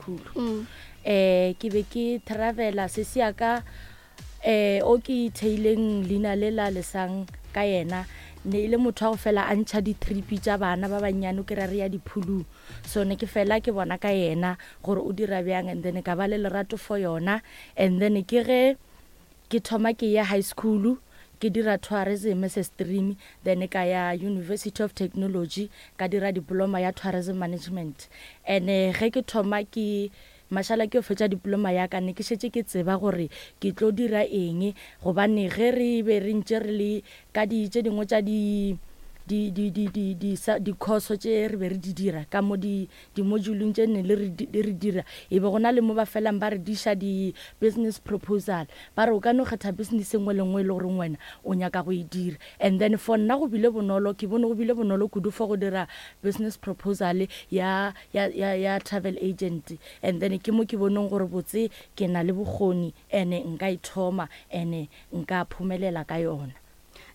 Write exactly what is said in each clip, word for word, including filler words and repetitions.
school. um Ke be ke travela sesi ya ka, um o ke theileng leina le la Lesang ka yena, ne e le motho wa go fela a ntšha di-trip tša bana ba bannyane, o kry-a re ya diphulung. So ne ke fela ke bona ka yena gore o dira bjang, and then ka ba le lerato for yona. And then ke ge ke thoma ke ya high school, ke dira tourism as a stream, then ka ya University of Technology, ka dira diploma ya tourism management. And ge ke thoma ke mašala ke yo fetša diploma ya ka, ne ke šetše ke tseba gore ke tlo dira eng, gobane ge re be re ntše re le ka di tše dingwe tša di di di di di di sa di-course tše re be re di dira ka mo di di-moduleng tše ne le re di re dira, e be go na le mo ba felang ba re diša di-business proposal, ba re o ka no kgetha business e nngwe le nngwe e le goreng wena o nyaka go e dira. And then for nna go bile bonolo, ke bone go bile bonolo kudu for go dira business proposal ya ya ya ya travel agent. And then ke mo ke boneng gore botse ke na le bokgoni, ene nka e thoma, ene nka phomelela ka yona.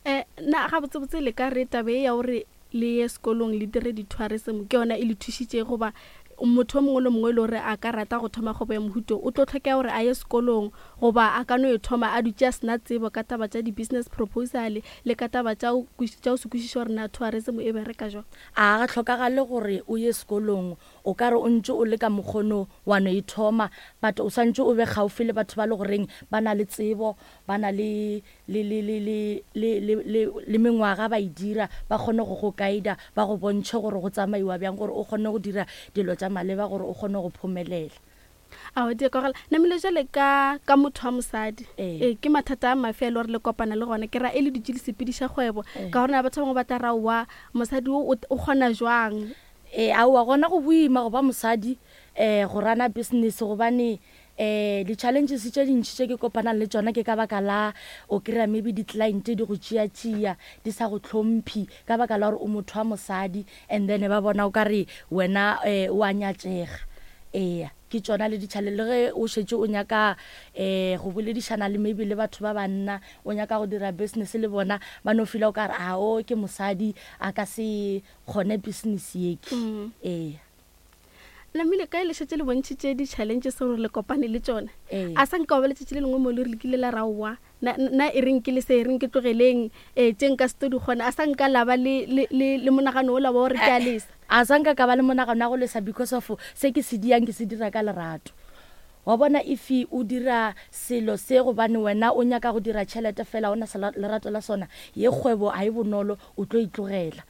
um Na ga botsebotse le ka re tabe ya gore le ye sekolong le dire di-tourism ke yona e le thušitše, goba motho o mongwe le mongwe e le gore a ka rata go thoma kgwebo ya mohuto o tlo tlhokega gore a ye sekolong, goba a ka no e thoma a dutše a sena tsebo ka taba tša di-business proposal le ka taba tša go tša go se kwešiša gore na tourism e bereka jwang? A ga tlhokagale gore o ye sekolong. O ka re o ntse o le ka mokgono wa no e thoma, but o swantse o be gaufi le batho ba le goreng ba na le tsebo, ba na le le le le le le le le le mengwaga ba e dira, ba kgone go go guida, ba go bontšhe gore go tsamaiwa bjang, gore o kgone go dira dilo tša maleba, gore o kgone go phomelela. Ao, di kwagala. Namile jale ka ka motho wa mosadi, Ee. ee ke mathata a mafe a le gore le kopana le gona, ke ra e le dutše le sepediša kgwebo, Ee. ka gore na batho ba bangwe ba tla ra wa mosadi o o kgona jwang? Ee, aowa, gona go boima go ba mosadi um go rana business, gobane um di-challenges tše dintšhi tše ke kopanang le tšona ke ka baka la o kry-a maybe di-client di go tšea-tšea, di sa go hlomphi ka baka la gore o motho wa mosadi, and then ba bona o ka re wena um o a nyatšega. Ee, ke tšona le di-challenge. Le ge o šetše o nyaka um go boledišana le maybe le batho ba banna, o nyaka go dira business le bona, ba no feela o ka re a o ke mosadi, a ka se kgone business yeke. Mm. Ee. Namile kae le šetše le bontšhitše di-challenges gore le kopane le tšona, Ee. a sa nka wa ba letšatši le lengwe mo le re le kile la ra oa na na e reng ke le se e reng ke tlogeleng um tše nka se to di kgona, a sa nka la ba le le le le monagano ola wa gore ke a lesa? A sa nka ka ba le monagano wa go lesa, because of se ke se diang ke se dira ka lerato. Wa bona, if o dira selo se gobane wena o nyaka go dira tšhelete fela, o na sa lerato la sona, ye kgwebo a e bonolo, o tlo e tlogela.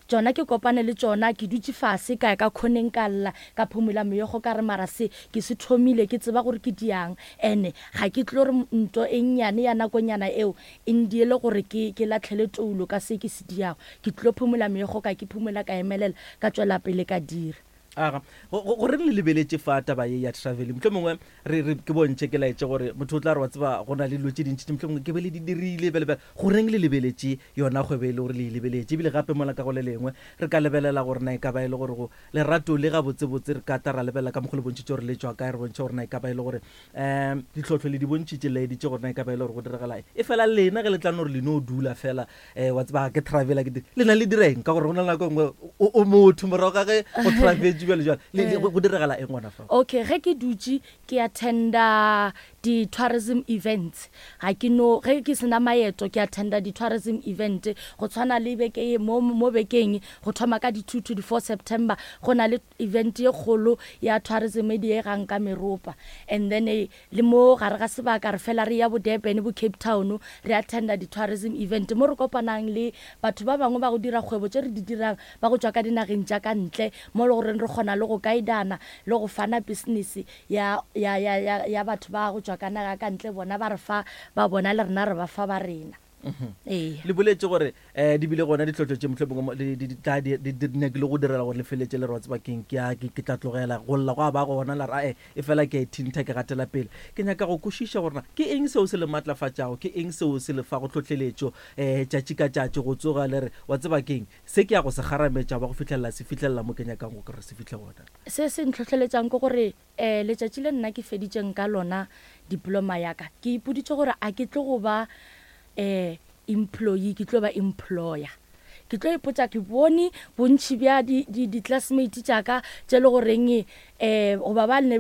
Tšona ke kopane le tšona, ke dutše fase ka ya ka khoneng, ka lla, ka phumula meokgo, ka re mara se ke se thomile ke tseba gore ke diang, ene ga ke tlo re nto e nnyane ya nakonyana eo e ndiele gore ke ke latlhele toulo ka se ke se diago. Ke tlo phumula meokgo, ka ke phumula, ka emelela, ka tšwela pele ka dira. Aga, goreng le lebeletše fa taba ye ya traveling? Motlho mongwe re re ke bontšhe, ke laetše gore motho o tla re wa tseba go na le dilo tše dintši tše motlho mongwe ke be le di dirile bele. Goreng le lebeletše yona kgwebo e le gore le e lebeletše? Ebile gape mola ka go le lengwe re ka lebelela gore na e ka ba e le gore go lerato le gabotsebotse, re ka tla ra lebelela ka mokgwa le bontšhitše gore le tšwa kae, re bontšhe gore na e ka ba e le gore um ditlhotlho le di bontšhitše, laeditše gore na e ka ba e le gore go diragala eng. E fela lena ge le tla no gore le no dula fela, um wa tseba ke travela ke le na le direng, ka gore go na le nako e nngwe o o motho morago ga ge go travetše bjale jale le- le- go diragala eng gona fa? Okay, ge ke dutše ke attenda di-tourism events, ga ke no ge ke sena maeto, ke attenda di-tourism event go tshwana le beke ye- mo mo bekeng go thoma ka di-two to di-four September, go na le event ye kgolo ya tourism e diegang ka meropa. And then eh, le mo gare ga sebaka re fela re ya bo Durban, bo Cape Town, re attenda di-tourism event mo re kopanang le batho ba bangwe ba go dira kgwebo tše re di dirang, ba go tšwa ka dinageng tša ka ntle, mo le goreng re kgona le go guidana le go fana business ya ya ya ya ya batho ba go tšwa ka naga ka ntle, bona ba re fa ba bona, le rena re ba fa ba rena. Ee. Le boletse gore um di bile gona ditlhotlho tše motlho mongwe di- di- di tla di di- di nyakile go direla gore le feletse le re wa tseba keng, ke a- ke ke tla tlogela go lla, go a ba gona la re ae e fela ke a ithintha, ke gatela pele. Ke nyaka go kwešiša gore na ke eng seo se le maatlafatšago, ke eng seo se le fago tlhotlheletšo um tšatši ka tšatši go tsoga le re wa tseba keng se ke ya go se kgarametša ba go fitlhelela se fitlhelela mo ke nyakang go kry se fitlhe gona? Se se ntlhotlheletsang ke gore um letšatši le nna ke feditšeng ka lona diploma ya ka, ke ipoditše gore a ke tlo go ba um employee, ke tlo ba employer. Ke tlo ipotsa ke bone bontšhi bja di-classmate tša ka tše le goreng um goba ba ne